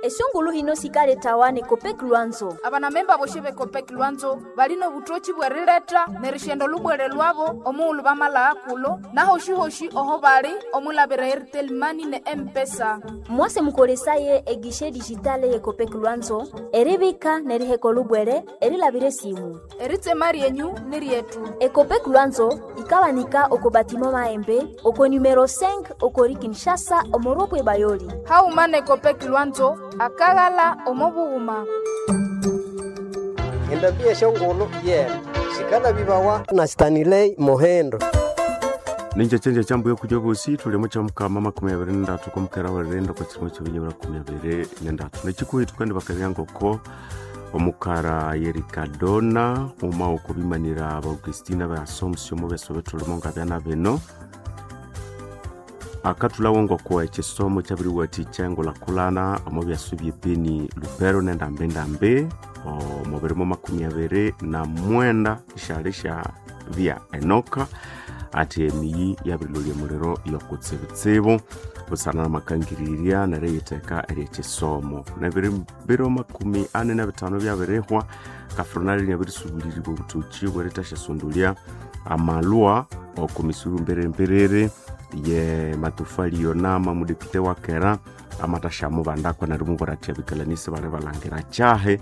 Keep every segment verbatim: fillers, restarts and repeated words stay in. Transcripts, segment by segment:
Esungulu hino sikaletawa ne Copec Lwanzo. Abanamemba boshe be Copec Lwanzo balino butochi bwerileta nerishendo lubwere lwabo omuulu bamala kulo nahoshihoshi oho bali omulabira Airtel Money ne M-Pesa. Mwase mukolesaye egishe digitale ye Copec Lwanzo eribika neriheko lubwere erilabire simu. Eritsema ryenyu ni ryetu. Ecopec Lwanzo ikawanika oko batimo maembe oko numero cinq okori Kinshasa omoropwe bayoli. Hauma ne Copec Lwanzo akaghala omobughuma. Endambi eshongolo yena sikala bibawa na Stanley Mohendo. Ninja chenja chambu yokuja bosi tulimo cha mukama makumi abiri nendatu komukera wererenda kwa chirimo chibinyibura kumi abiri nendatu nechikuhitu kandi bakabya omukara yerikadona uma okubimanira abaugustina ba Assumption mu beso betulimo nga byana bino akatulawo ngoko ekisomo kyabiriwathikya engulhakulhana omo byasu byebeni Lubero nendambendambe omu birimo makumi abiri na mwenda esyali sya bya Enoka ati emiyi yabirilolya omuliro yokutsibutsibu busana namakangirirya neriyitheka eryekisomo nebiri biro makumi ani nabithano byabirihwa kafronali nyabirisubuliribwa obutoki bwerithasyasundulia amalwa oku misuru mberemberere ye matofali yona mamudepite wakera amatashamubandakwa nerimubwira athi abikalanisi bali balangira kyahe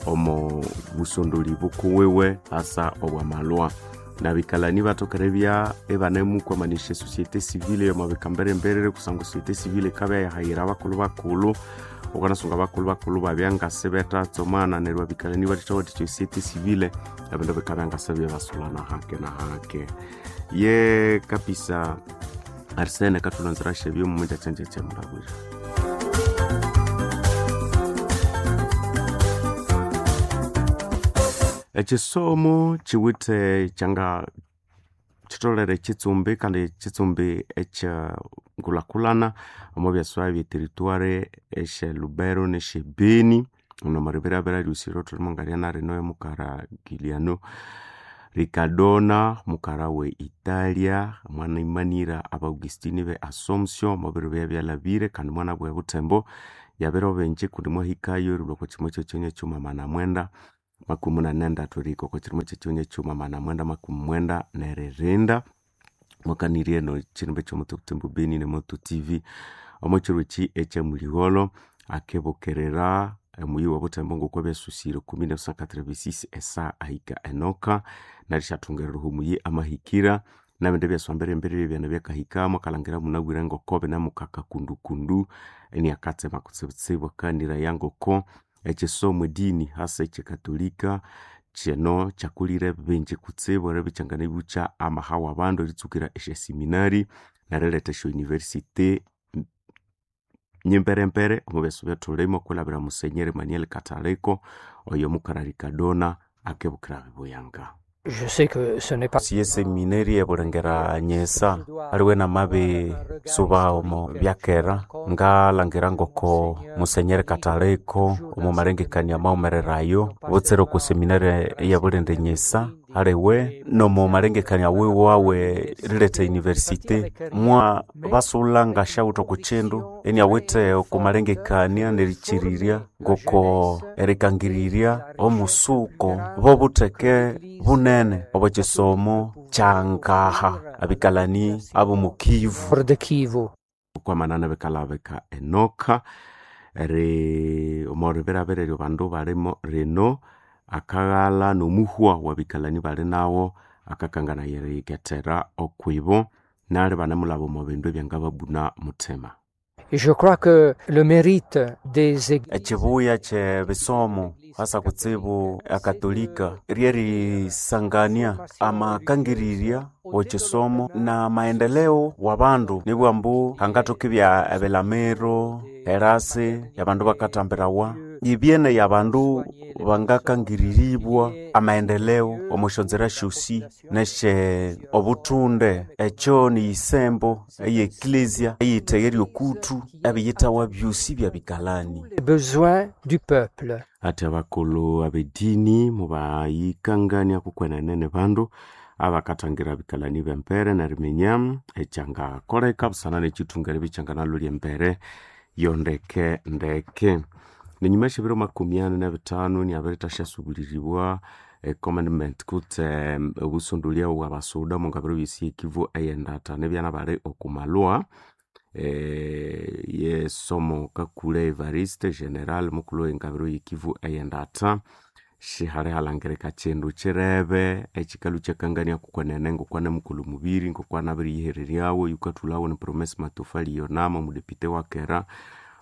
omo busondoli bukuwiwe asa obwamalwa nabikalani batokere bya ebanemukwamanisa esociete civile yomabika mberemberere kusangwa societe civile ikabya yahayira abakulhu bakulhu ukanasunga abakulhu bakulhu babya ngasi betatsomana neryo abikalani bathithawathikya societe civile ebindu bikabya ngasi byebasulana hake na hake ye kapisa Arsene katulonzera shebyo mumujachenjeche mulabwira. Ekisomo kiwithe kyanga kitolere kitsumbi kandi kitsumbi ekyangulhakulhana omo byaswa bye territoire esye Lubero nesye Beni ono maribirabira lyusiro thulimo ngalyana rino emukara Giliano Ricardona mukara we Italia mwana imanira abaugustini be Assumption mubiro bya byalabire kandi mwana bwe Butembo yabiro benji kundi mwahikayo erilwa kwa kimwe kyekyonya kyuma mana mwenda makumi munane nendatu erihika okwa kirimo kyekyonya kyuma mana mwenda makumi mwenda neririnda mwakanirye eno kirimba ekyomuto Butembo Beni ne Moto T V omo kiro eki ekyamuligholo akebukerera omuyi wa Butembo ngokwa byasusire ku mil neuf cent quatre-vingt-six esa ahika Enoka narisyathungerera omuyi amahikira nabindi ebyaswa mbere ebyana byakahikamo akalangira munabwire ngoko binamukaka kundukundu eniakatsema kutsibutsibu akaniraya ngoko ekisomo edini hasa ekyekatolika kino kyakulire bingi kutsibu eribya ibukya amaha wabandu eritsukira esyaseminari neriletha esya university nyimberembere omu byasu byathulimu okwilhabira Musenyeri Emmanuel Kataleko oyo mukara Ricardona akebukira bibuyanga. Je sais que ce n'est pas siye seminari ebulengera nyesa aliwe namabi suba omo byakera ngalangira ngoko musenyeri Kataleko omo malengekania maumererayo butsire oku seminari eyabulende nyesa aliwe nomo malengekania wiwe wawe rileta universite mwa basulanga ngashawutha oku kindu eniawithe oku malengekania nerichirirya ngoko erikangirirya omusuko bobutheke bunene obwekisomo kyangaha abikalani abomukivu de Kivu. Okwamanana bikalabika Enoka eri omoribirabira eryo bandu balimo rino akaghala nomuhwa wabikalani bali nawo akakangana yeriyikethera okwibo nali banemulaba omo bindu ebyangababuna muthima. Je crois que le mérite des églises ekibuya kye bisomo hasa kutsibu akatolika ryerisangania amakangirirya wekisomo na maendeleo wa bandu nibwambu hangathoka ibya ebilamiro erasi yabandu bakatambirawa ibyene yabandu bangakangiriribwa amaendeleo omusyonzera syosi nesye obuthunde ekyo niyisembo eye eklesia eyithegerya okuthu ebiyithawa byosi byabikalani les besoins du peuple. Ati abakulhu abedini mubayikangania kukwenene bandu abakathangira bikalani b'empere neriminya ekyangakoleka busana n'ekithunga eribya ekyanganalolya embere yondeke ndeke. Nenyuma esyebiro makumi ani nebithanu niabirithasyasuliribwa e commandment kutse obusondolya obwabasuda omungabiro byesi ekivu eyendata nebyana bali okumalwa eh, yesomo Kakule Evariste General mukulhu wengabiro yekivu eyendata shihali halangirika kindu kirebe ekikalhu kyakangania kukwenene ngokwana mukulhu mubiri ngokwana abiriyihereryawo yukathulhawo ni Promise Matofali Yonama omudepite wa kera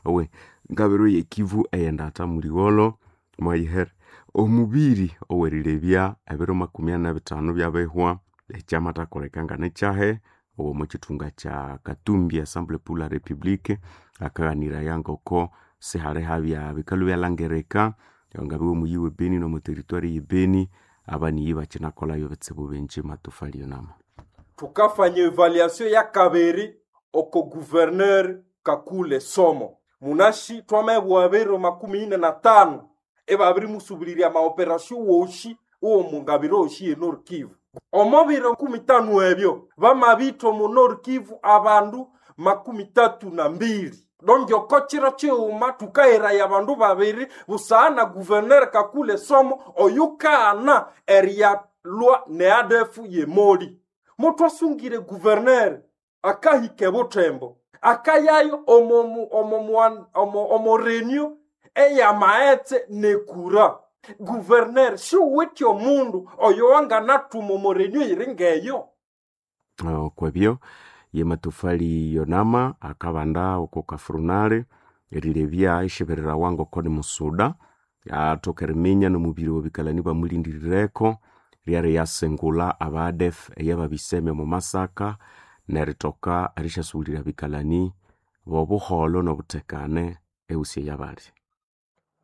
owe ngabiro yekivu eyendata muligholo mwayihere omubiri owerilebya ebiro makumi ani nebithanu byabihwa ekyamathakoleka nganekyahe owo kithunga kya Katumbi Assemblée pour la République akaghaniraya ngoko sihali habya bikalhu byalangirika ngabiwe omuyi we Beni nomu territoire ye Beni abaniyi bakinakolhayo ebitsibu bingi Matofali Yonama. Tukafanya evaluation ya kabiri oko gouverneur Kakule Somo munashi twamebwa biro makumi ine na tano ebabirimusubulirya maoperasio woshi uwo mungabiro oshi ye Nord Kivu omo biro kumi tano ebyo bamabitha omu Nord Kivu abandu makumi tatu na mbili donge chiro chiuma tukahiraya abandu babiri busana gouverneur Kakule Somo oyukana eriyalwa ne A D F yemoli mutwasungire gouverneur akahika ebutembo akayayo omo omo omo omo reunion eyamaetse nekura gouverneur siwithe omundu oyo wanganathuma omo reunion iri ngeyo. Okwebyo ye Matofali Yonama akabanda oko kafrunale erilebya ishebererawa ngoko ni musuda athoka eriminya nomubiri webikalani bamulindirireko lyari yasengula aba A D F eyababiseme omu Masaka nerithoka erishasughulira bikalani bobuholho nobuthekane ehusi eyabali.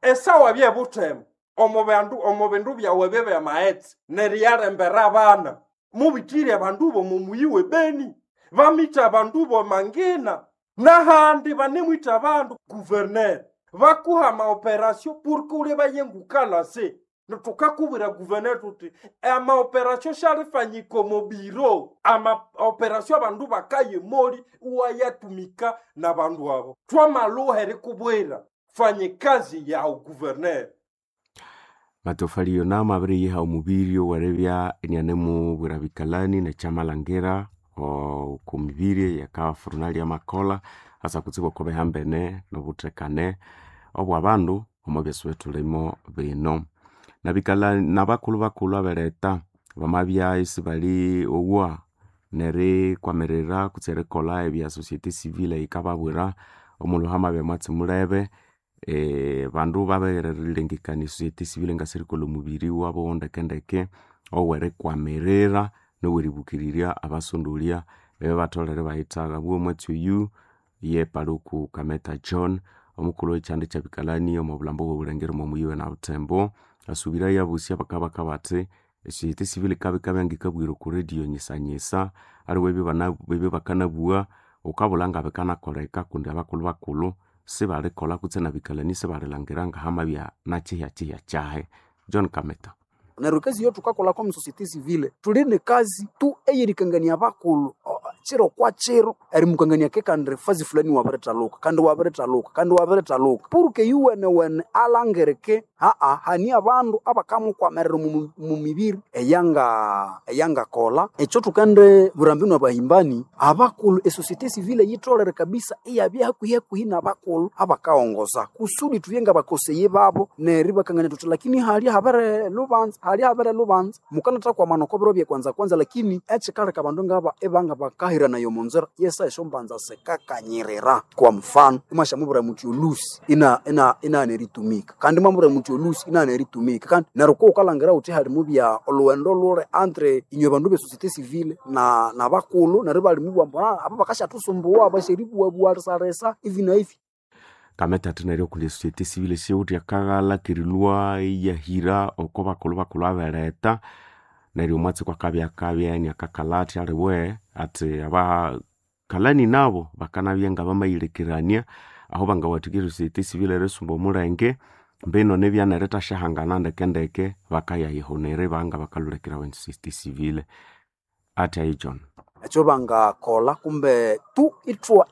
Esawa byebuthembo omo bandu omo bindu byawe byamaghetse neriyalembera abana mubithire abandu bomo muyi we Beni bamitha abandu bomangina nahandi banemwitha abandu gouverneur bakuha maoperasio porque ule bayengukalase tukakubwira gouverneur tuti amaoperasio shalifanyika omo biro amaoperasio abandu bakaye moli uwayatumika na bandu abo twamaluha erikubwira fanye kazi yawu gouverneur. Matofali Yonama abiriyiha omubiri oweribya inianemubwira bikalani nekyamalhangira oku mibiri eyakafurunali amakolha asa kutsibu oko bihambene nobuthekane obwabandu omo byasi bithulimo bino. Nabikalani nabakulhu bakulhu aberetha bamabya isibali owa nerikwamirira kutse erikolha ebya societe civile eyikababwira omulhu hamabya mwatsi mulebe e, bandu babirilengekania societe civile ngasirikolha omubiri wabo ndekendeke owerikwamirira noweribukirirya abasondolya ebibatholere bayithagha. Bwo omwatsi oyu ye Paluku Kameta John omukulhu wekyanda kyabikalani omo bulhambo obwobulengeri omo muyi na Butembo asubirayo abusi abakabaka bathi esociete civile ikabya ngikabwira oku radio nyisanyisa aliwe ebyo bakanabugha wukabulha ngabikanakoleka kundi abakulhu bakulhu sibalikolha kutse nabikalani sibalilhangira ngahamabya nakyihyakyihya kyahi. John Kameta. Neryo ekazi eyo thukakolha omu societe civile thuli nekazi tu eyerikangania abakulhu kiro kwa kiro erimukangania ke kandi fazi fulani wabirithaluka kandi wabirithaluka kandi wabirithaluka purke yuwenewene alangirike aa hani abandu abakamukwamirira mu mibiri eyanga eyangakolha ekyo thukende burambinu abahimbani abakulhu esociete civile yitholere kabisa iyabya hakuhi hakuhi nabakulhu abakaghongoza kusudi thubye ngabakoseye babo neryo ibakangania thuthi lakini halya habere lubanza halya habere lubanza mukanathakwamana oko biro byekwanza kwanza lakini ekikaleka abandu ngaba ibanga bakahiranayo omunzira yesa esyombanza sikakanyirira kwa mfano imwashamubwira muthi olusi ina ina inaghana eritumika kandi imwamubwira muthi olusi inaghana eritumika kandi neryo kuwukalhangira wuthi halimubya olhughendo luli entre inywe bandu be societe civile na nabakulhu neryo ibalimubugha ambu aba bakasyathusumbuwa basyeribuwabuwalisalisa ivi na ivi. Kameta athi neryo okuli esociete civile siwuthi akaghalha kerilhwa iyahira oko bakulhu bakulhu aberetha neryo omwatsi kwakabya akabya iniakakalha athi aliwe athi abakalani nabo bakanabya ngabamayilekerania aho bangawathikya esociete civile erisumba omulenge mbino nibya nerithashahangana ndekendeke bakayayihunira ibanga bakalhulekerawa esociete civile athi ayi John. Ekyo bangakolha kumbe Tu itwa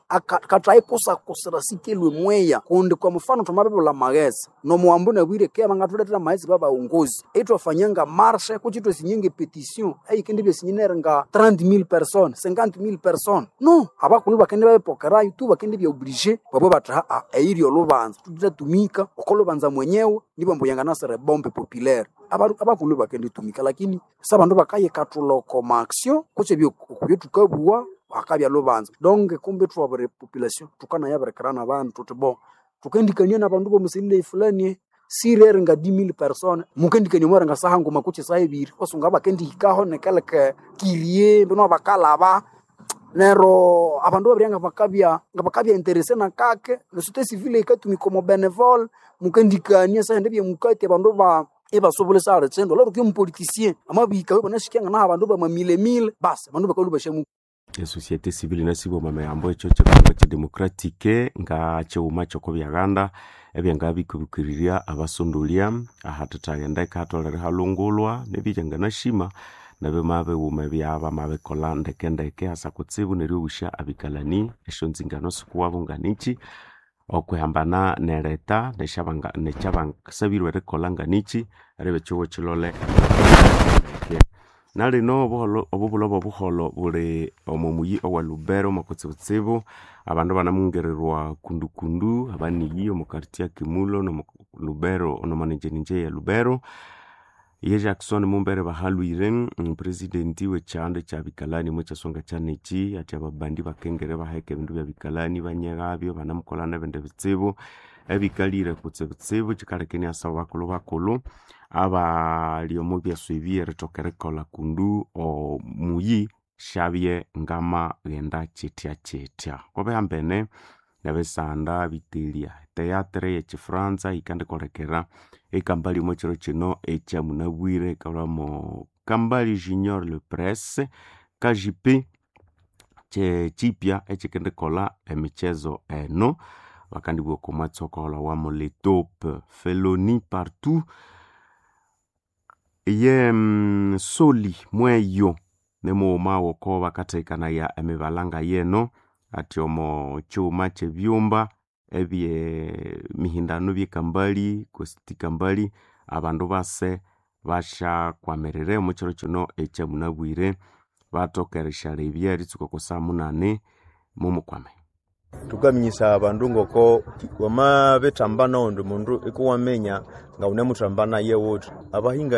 katayikusakusira sikelwe mweya kundi kwa mfano twamabibula maghetse nomuwambu nabwire ke bangathuletera maghetse babaongozi itwafanyanga marshe kuchi twesinyenge petition eyikindi byesinyenere nga trente mille personnes cinquante mille personnes no abakulu bakende babipokerayo tu bakende bya oblige babwe bathi haa eyiri olubanza tutatumika okolubanza mwenyewe nibwo mbu yanganasere bombe populaire abakulu bakenditumika lakini sabandu bakayikathula oko maaction kutse okubyo thukabuwa akabya lubanza donc kumbe thwabiri population thukanayabirikira nabandu thuthi bo thukendikania nabandu bomusilile fulani sirere nga dix mille personnes mukendikania mwere nga saha nguma kutse saha ebiri wasunga bakendihikaho nekeleke kirie mbino bakalaba nero abandu babirya nga bakabya nga bakabya interese nakake nesociété civile ikatumika omo benevole mukendikania sahende byemukati abandu ba ibasobolesa alitsendo lero kyo mupoliticien amabika banashikyanga naha abandu bamamilemile basi abandu bakalubashamu Esociété civile nasibwa mameyambo ekyo kyekongo kyedemocratique nga kyighuma kyokobyaganda ebyangabikubikirirya abasondolya ahathathaghenda hatolere halungulwa nebyanganashima nabyo mabighuma ebyabamabikolha ndekendeke hasa kutsibu neryoghusya abikalani esyonzingano sikuwabo nganichi okwihambana nereta nekyabasabirwe erikolha nganichi eribya ekyihugho kyilole nalino obuholho obubulho bwobuholho buli omo muyi owa Lubero mwakutsibutsibu abandu banamungirirwa kundukundu abaniyi omo quartier Kimulo nomo Lubero nomonenjeninje ya Lubero ye Jackson Mumbere bahalwire presidenti wekyanda kyabikalani mwekyasonga kyaneki athi ababandi bakengere baheka ebindu byabikalani banyeghabyo banamukolha nebindi bitsibu ebikalire kutsibutsibu kyikaleka iniasaba bakulhu bakulhu abali omo byaswa ebi erithoka erikolha kundu omuyi syabye ngamaghenda kyithya kyithya kwabihambene nebisanda bitelya teatre yekyifranza yikandikolekera ekambali omo kyiro kino ekyamunabwire ikalhwamo Kambali Junior Le Presse K J P kyekyipya ekyikendikolha emikyezo eno bakandibugha okwa mwatsi okaholhawamu le taupe feloni partout ye soli mweyo nimughuma woko bakathekanaya emibalanga yeno athi omo kyighuma kyebyumba ebyemihindano byekambali kositi kambali abandu base basyakwamirira omo kyiro kino ekyamunabwire bathoka erisyarebya eritsuka oko saha munani mumukwame. Tukaminyisa abandu ngoko wamabithamba noghundi mundu ikuwaminya ngawunemuthamba naye wuthi abahinga.